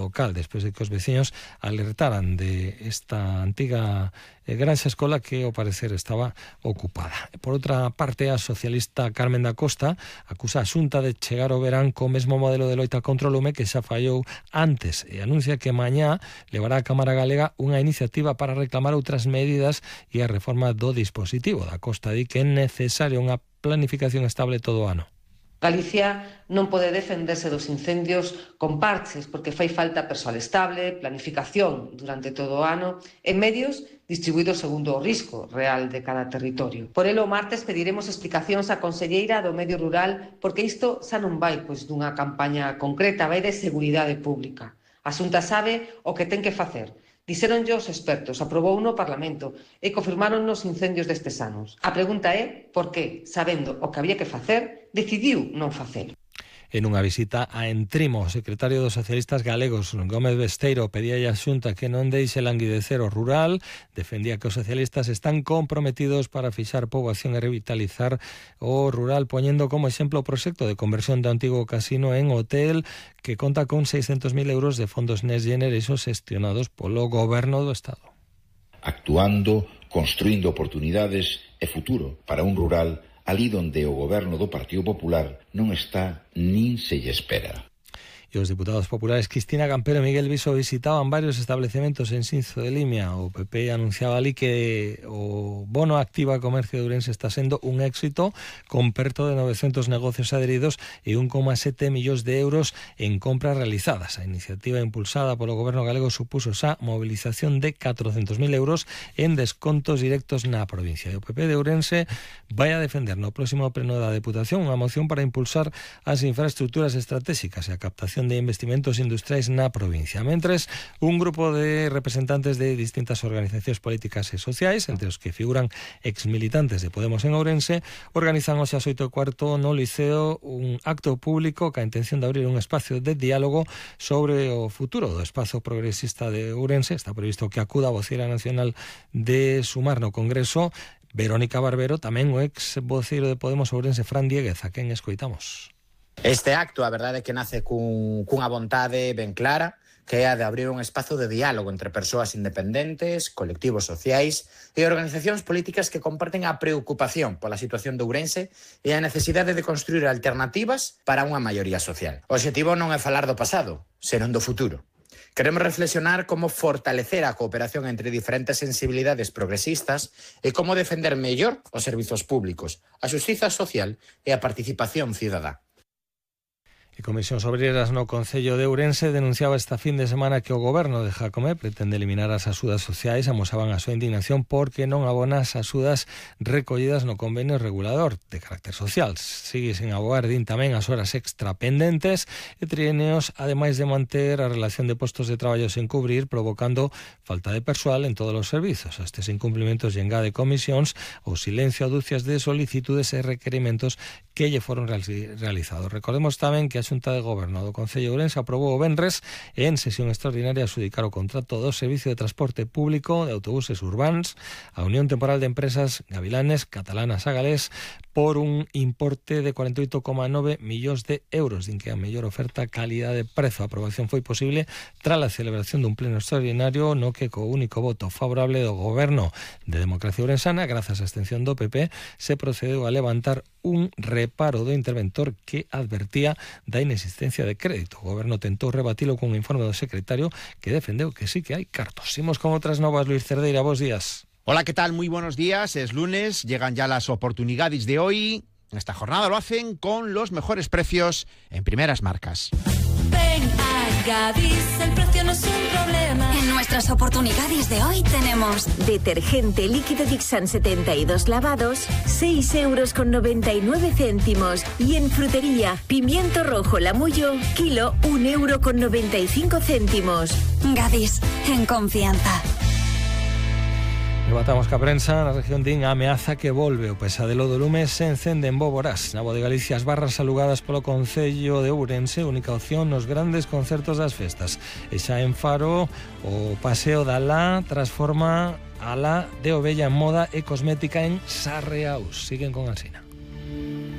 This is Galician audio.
local, despois de que os veciños alertaran de esta antiga granxa escola que ao parecer estaba ocupada. Por outra parte, a socialista Carmen da Costa acusa a Xunta de chegar ao verán co mesmo modelo de loita contra o lume que xa fallou antes e anuncia que mañá levará a Cámara Galega unha iniciativa para reclamar outras medidas e a reforma do dispositivo. Da Costa di que é necesaria unha planificación estable todo o ano. Galicia non pode defenderse dos incendios con parches porque fai falta persoal estable, planificación durante todo o ano e medios distribuídos segundo o risco real de cada territorio. Por elo, o martes pediremos explicacións á conselleira do Medio Rural porque isto xa non vai dunha campaña concreta, vai de seguridade pública. A Xunta sabe o que ten que facer. Dixéronlle os expertos, aprobou no Parlamento e confirmaron nos incendios destes anos. A pregunta é por que, sabendo o que había que facer, decidiu non facelo. En unha visita a Entrimo, o secretario dos socialistas galegos, Gómez Besteiro, pedía a Xunta que non deixe languidecer o rural, defendía que os socialistas están comprometidos para fixar poboación e revitalizar o rural, poñendo como exemplo o proxecto de conversión do antigo casino en hotel, que conta con 600.000 euros de fondos Next Generation xestionados polo Goberno do Estado. Actuando, construindo oportunidades e futuro para un rural ali donde o goberno do Partido Popular non está nin se lle espera. E os diputados populares Cristina Campero e Miguel Viso visitaban varios establecementos en Xinzo de Limia. O PP anunciaba ali que o bono Activa Comercio de Ourense está sendo un éxito, con perto de 900 negocios adheridos e 1,7 millóns de euros en compras realizadas. A iniciativa impulsada polo goberno galego supuso xa movilización de 400.000 euros en descontos directos na provincia. E o PP de Ourense vai a defender no próximo pleno da Deputación unha moción para impulsar as infraestructuras estratégicas e a captación de investimentos industriais na provincia. Mentres, un grupo de representantes de distintas organizacións políticas e sociais, entre os que figuran exmilitantes de Podemos en Ourense, organizan hoxe ás 8:15 no Liceo un acto público ca intención de abrir un espacio de diálogo sobre o futuro do espazo progresista de Ourense. Está previsto que acuda a voceira nacional de Sumar no Congreso, Verónica Barbero, tamén o ex voceiro de Podemos Ourense, Fran Dieguez, a quen escoitamos. Este acto, a verdade é que nace cunha vontade ben clara, que é a de abrir un espazo de diálogo entre persoas independentes, colectivos sociais e organizacións políticas que comparten a preocupación pola situación de Ourense e a necesidade de construir alternativas para unha maioría social. O obxectivo non é falar do pasado, senón do futuro. Queremos reflexionar como fortalecer a cooperación entre diferentes sensibilidades progresistas e como defender mellor os servizos públicos, a xustiza social e a participación cidadá. E Comisións Obreiras no Concello de Ourense denunciaba esta fin de semana que o goberno de Jacome pretende eliminar as axudas sociais. Amosaban a súa indignación porque non abona as axudas recollidas no convenio regulador de carácter social. Sigue sen aboar, din tamén, as horas extra pendentes e trienios, ademais de manter a relación de postos de traballo sen cubrir, provocando falta de persoal en todos os servizos. A estes incumplimentos lle engade Comisións o silencio a dúcias de solicitudes e requerimentos que lle foron realizados. Recordemos tamén que a Xunta de Goberno do Concello de Ourense aprobou o venres en sesión extraordinaria adxudicar o contrato do Servicio de Transporte Público de Autobuses Urbans a Unión Temporal de Empresas Gavilanes Catalanas a Galés por un importe de 48,9 millóns de euros. Din que a mellor oferta calidade-prezo. A aprobación foi posible tras a celebración dun pleno extraordinario no que co único voto favorable do Goberno de Democracia Ourensana, grazas á abstención do PP, se procedeu a levantar un reparo do interventor que advertía da inexistencia de crédito. O Goberno tentou rebatilo cun informe do secretario que defendeu que sí que hai cartos. Imos con outras novas. Luis Cerdeira, bos días. Hola, ¿qué tal? Muy buenos días. Es lunes, llegan ya las oportunidades de hoy. En esta jornada lo hacen con los mejores precios en primeras marcas. Ven a Gadis, el precio no es un problema. En nuestras oportunidades de hoy tenemos detergente líquido Dixan 72 lavados, 6,99 €. Y en frutería, pimiento rojo Lamullo, kilo, 1,95 €. Gadis, en confianza. Rematamos ca prensa. Na región din a ameaza que volve. O pesadelo do lume se encende en Boborás. Na Voz de Galicia, as barras alugadas polo Concello de Ourense, única opción nos grandes concertos das festas. E xa en Faro, o paseo da La transforma a La de Ovella en moda e cosmética en Sarreaus. Siguen con Alsina.